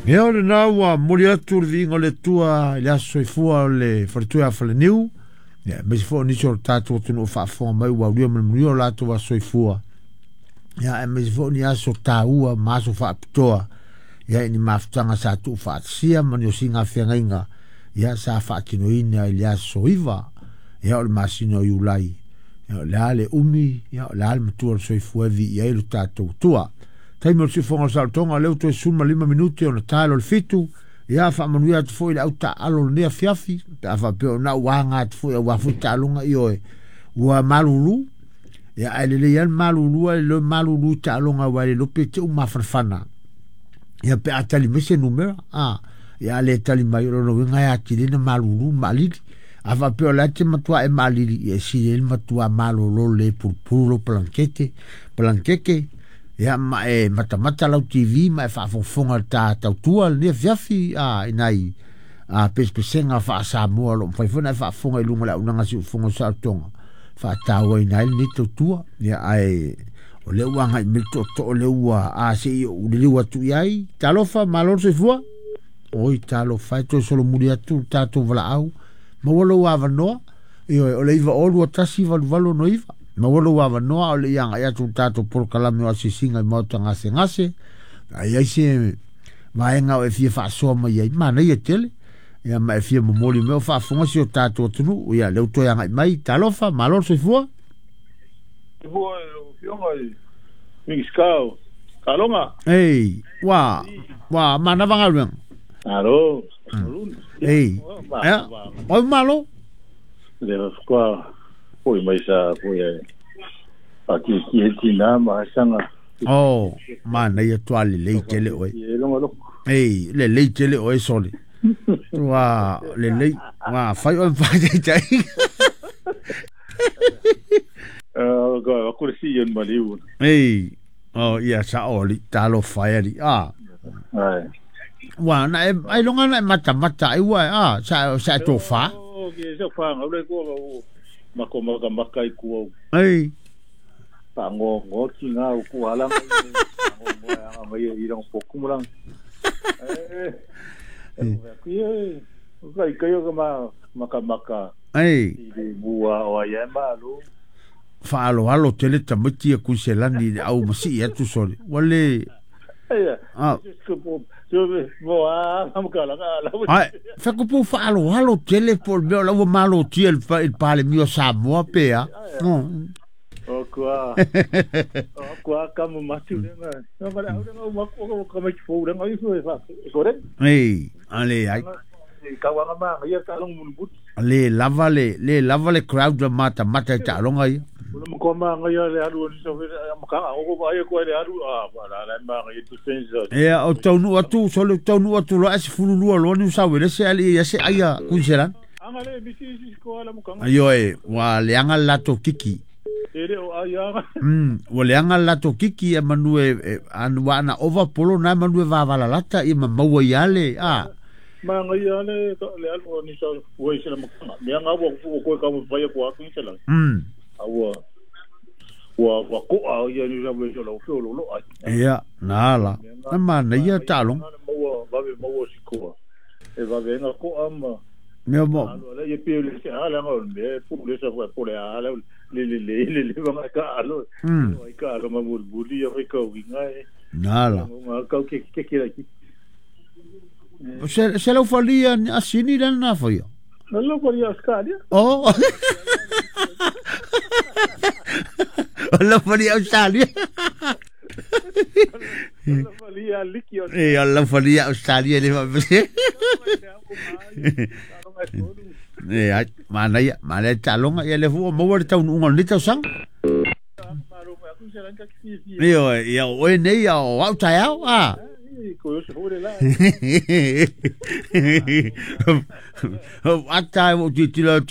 Ia o lena ua momoli atu le viiga o le Atua i le aso soifua o le faletua ia Faleniu, ia aemaise foi o nisi o le tatou atunuu o faafofoga mai ua aulia ma le manuia o latou aso soifua, ia aemaise foi o ni aso taua ma aso faapitoa, ia i ni mafutaga sa tuufaatasia ma ni osiga feagaiga, ia sa faatinoina i le aso 9, ia o le masina o Iulai, ia o le a le umi, ia o le a le matua o le soifua e viia ai lo tatou Atua. Taimi o le siufofoga o le saolotoga, o lea ua toe 15 minute ona tae loa le 7, ia faamanuia atu foi i le au taaalo o lenei afiafi, pe a faapea o na ua aga atu foi aua foi taaloga ioe, ua malulu, ia ae lelei lava le malulu ae le malulu i taaloga aua e le iloa pe te i ua mafanafana. Ia pe a tali mai se numera, a, ia a le tali mai o lona uiga e atili ai ona malulu ma maalili. A faapea o le a te matua e maalili, ia e sili ai le matua malolo lelei e pulupulu lou palankete, palankeke, ia ma e matamata lau TV ma e faafogafoga i le ta tautua lenei afiafi, a, i nai a, pesepesega faa-Samoa o lo o mafai foi ona e faafofoga i luga o le auaunaga a Siufofoga o Saolotoga, faatauaina ai lenei tautua. Ia ae o lea ua agai mai le tootoo lea ua a se i ou liliu atu i ai. Talofa, malo le soifua. Oi, talofa e toe solomuli atu le tatou valaau. Maua lou avanoa. Ioe, o le 9O 21 88 69. Maua lou avanoa o le i agai atu le tatou polokalame o asiasiga i maota gasegase. A i ai se vaega o e fia faasoa mai ai, manaia tele. Ia ma e fia momoli mai o faafofoga si o tatou atunuu. Ia, lea ua toe agai mai. Talofa, malo le soifua. Soifua i lau Afioga i Minisita o Taaloga. Ei, ua, ua manava galuega. Malo, Ei, ia, oi malo. Le faatoa foi mai sa foi e faatietie tina ma asaga. Oh, manaia toa lelei tele oe. E longa loko. Ei, lelei tele oe sole. Ua lelei, ua fai oe ma faataitaiga. Aku le si on maliu. Ei, oh ia sao ali, talofa e ali. Ah. Ai. Ua na e ai longa na e matamata ai ua a sa sa e tofa. Oh, ke sa fa ngau le ko o mako maka maka i ku au. Ei. Pa ngo ngo ki nga u ku ala ngo ngo anga mai i rong poku mulang. Eh. Eh, kai kai o ma maka maka. Ei. I le mua o ai e malo. Faaloalo tele tamaiti ia Kuiselani i le au masii atu sole. Ua le... Ah. Ai, fekupu faaloalo tele po o le mea o la ua malotia i le Palemia o Samoa pe a. O kua, o kua kamu matu lenga. No mara au lenga umaku o ka mai fou lenga ifu e fa. E kore? Ei, ale ai. Ka wanga ma ia ka long mun but. Le lava le, le lava le crowd la matamata i taaloga ia. Ula ma kua ma ia le alu ni so ma ka o ko ai ko le alu a la la ma ia defense. Ia o taunuu atu sole taunuu atu loa e 12 loa Niu Sauelese ale ia se ai a Kuiselani. Anga le misi isi ko ala mukanga. Ioe, ua leaga le latou kiki. E le o ai anga. Ua leaga le latou kiki ia manu e ua ana ova polo na manu e vavalalata ia ma maua ia le a. Ma ngai ia le le alu o ni sa ua isi la mukanga. Mea ngā ua ua koe ka whai ko aku i la. A ua ua ua koa ia ni sa ua la ufeo lo lo ai. Ia, na ala. Na manaia taaloga. Maua vave maua sikoa. E vave nga koa ma Mea mo. Alo ala ia pe le se ala nga me pu le sa fu le ala le le le le le nga ka alo. Ai ka alo ma mul buli ia ka winga e. Na ala. Nga ka ke ke ke ki. Se se lau falia asini le na faia. Na lau falia Australia. Oh. Lau falia Australia. Lau falia liki o. E lau falia Australia le fa. E ai manaia, manaia taaloga ia le fu o maua le taunuuga o lenei tausaga. Ioe, ia o oe nei ia o au taeao a. Ata e ua tilotilo atu.